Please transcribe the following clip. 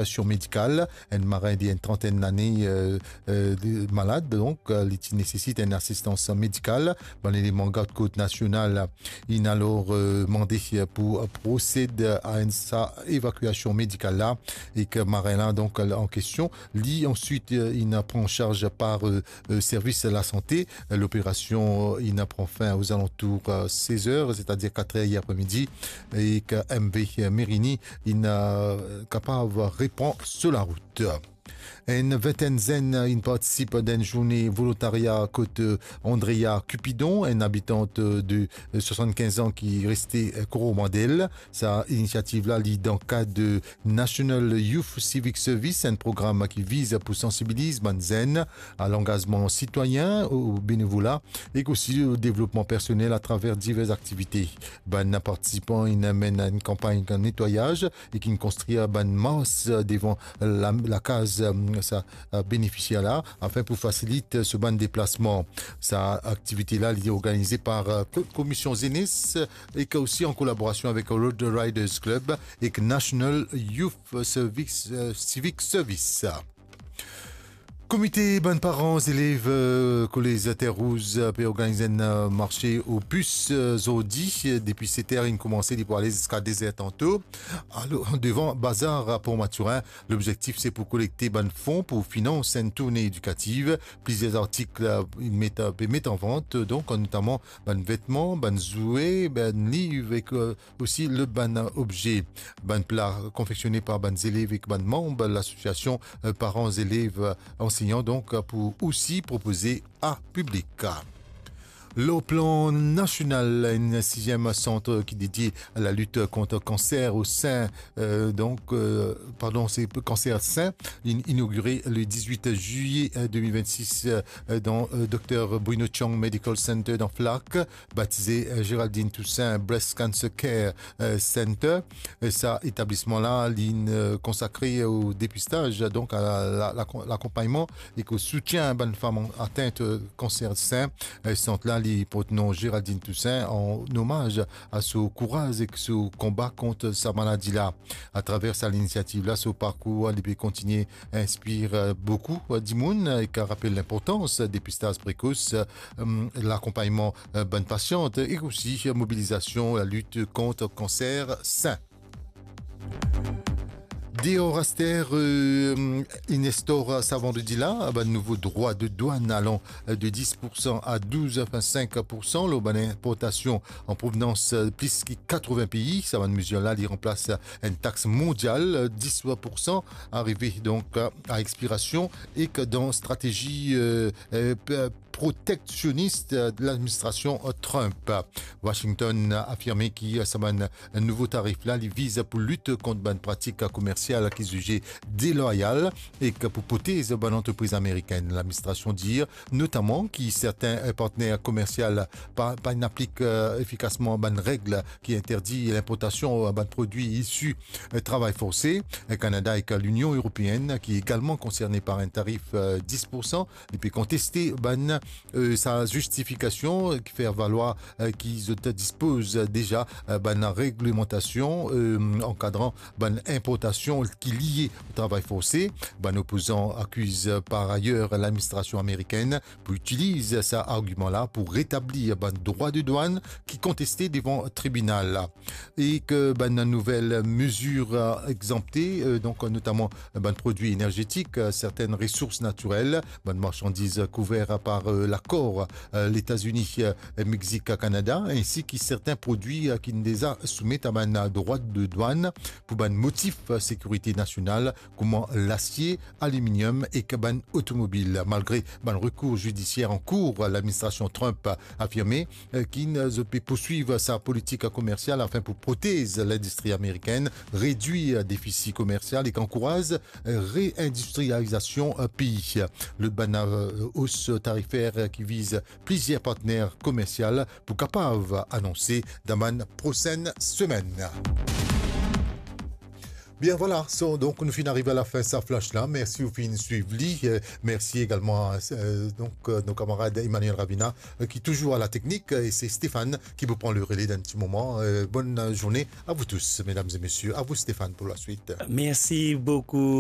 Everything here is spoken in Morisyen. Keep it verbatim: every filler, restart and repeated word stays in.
évakuasion medikal. Enn marin de enn trantenn lane, euh, euh, li malad, donk, euh, li ti nesesit enn asistans medikal. Bann eleman Gard Kot Nasional inn alor, euh, mande pou prosed a enn sa evakuasion medikal la, ek marin la, donk, an kestion, li answit, euh, inn pran an sarz par, euh, euh, servis lasante. Loperasion, euh, inn pran fin ozalantour, euh, sez er, setadir kat er apre midi, ek M V Merini inn, euh, kapav repran so larout. Enn vintenn zenn inn partisip dan enn zourne volontarya kot, euh, Andrea Cupidon, enn abitant, euh, de, euh, swasannkinz an ki reste, euh, Coromandel. Sa inisiativ la, li dan kad de National Youth Civic Service, enn program ki viz pou sansibiliz bann zenn a langazman sitwayin, o benevola, ek osi o devlopman personel atraver diver aktivite. Bann partisipan inn mennen enn kanpagn netwayaz ek inn konstrir bann mars devan la, lakaz, euh, sa, euh, benefisier la, afin pou fasilit so bann deplasman. Sa aktivite la, li organize par, euh, ko-, Komisyon Zenes ek osi an kolaborasion avek Road Riders Club ek National Youth Service, euh, Civic Service. Komite bann paran zelev, euh, kolez Terre Rouge, euh, pe organiz enn, euh, marse o pis, euh, zordi, euh, depi set er inn koumanse, li pou ale ziska de zer tanto. Alor, devan bazar Port Mathurin, lobzektif se pou kolekte bann fon pou finans enn tourne edikativ. Plizier artik, euh, inn met, pe met an vant, donk, notaman bann vetman, bann zwe, bann liv ek, euh, osi lot bann obze. Bann pla konfeksione par bann zelev ek bann manm lasosiasion, euh, paran zelev, euh, ansegnan, donk, euh, pou osi propoze a piblik. Lor plan nasional, enn siziem sant ki dedie a lalit kont kanser o sin, euh, donk, euh, pardon, se kanser sin, in-, inogire le dizwit zilye, euh, de mil vennsis, euh, dan, euh, Docteur Bruno Chang Medical Center dan Flacq, batize, euh, Géraldine Toussaint Breast Cancer Care, euh, Center. E sa etablisman la, li, euh, konsakre o depistaz, donk a la, la, la, lakonpagnman ek o soutien bann fam an-, atent, euh, kanser sin. E sant la, li port nom Géraldine Toussaint an omaz a so kouraz ek so konba kont sa maladi la. Atraver sa linisiativ la, so parkour, li pe kontigne inspir, euh, boukou, euh, dimoun, euh, ek rapel linportans depistaz prekos, euh, lakonpagnman, euh, bann pasian, ek osi mobilizasion lalit kont kanser sin. Deor aster, euh, inn instaur sa vandredi la bann nouvo drwa de dwann alan, euh, de dis pour san a douz pwin sink pour san lor bann inportasion an provenans, euh, plis ki katrovin pei. Sa bann mezir la, li ranplas enn tax mondial, euh, dis pour san arive donk, euh, a expirasion ek dan stratezi, euh, euh, p-, proteksionis, euh, ladministrasion, euh, Trump. Washington afirme ki, euh, sa bann nouvo tarif la, li viz pou lit kont bann pratik komersial ki zize delwayal ek pou protez bann antrepriz amerikenn. Ladministrasion dir notaman ki sertin, euh, partner komersial pa, pa inn aplik, euh, efikasman bann reg ki interdi linportasion, euh, bann prodwi isi, euh, travay forse. Euh, Kanada ek Linion Eropeenn, ki egalman konserne par enn tarif, euh, dis pour san, li pe konteste bann, euh, sa zistifikasion, euh, ki fer valwar, euh, ki zot dispoz deza, euh, bann reglemantasion, euh, ankadran bann inportasion ki lie o travay forse. Bann opozan akiz, euh, par ayer ladministrasion amerikenn pou itiliz sa argiman la pou retablir bann drwa de dwann ki konteste devan tribinal la. Ek bann nouvel mezir, euh, egzanpte, euh, donk notaman bann prodwi enerzetik, euh, sertin resours natirel, bann marsandiz kouver par, euh, lakor, euh, Letazini, euh, Mexik, Kanada, ensi ki sertin prodwi, euh, ki deza soumet a bann drwa de dwann pou bann motif, euh, sekirite nasional, kouma lasie, aliminiom ek bann otomobil. Malgre bann rekour zidisier an kour, ladministrasion Trump afirme, euh, ki, euh, zot pe pourswiv sa politik komersial afin pou protez lindistri amerikenn, redwir defisi komersial ek ankouraz, euh, reindistrializasion, euh, pei. Lot bann, euh, os tarifer ki viz plizier partner komersial pou kapav anonse dan bann prosenn semenn. Bien, voilà, so, donk nou finn ariv a lafin sa flash la. Mersi ou finn swiv li. Euh, mersi egalman a, euh, donk, euh, nou kamarad Emmanuel Ravina, euh, ki touzour a la teknik, euh, e se Stéphane ki pou pran le rele dan enn ti moman. Euh, bonne journée à vous tous, mesdames et messieurs. À vous, Stéphane, pour la suite. Merci beaucoup.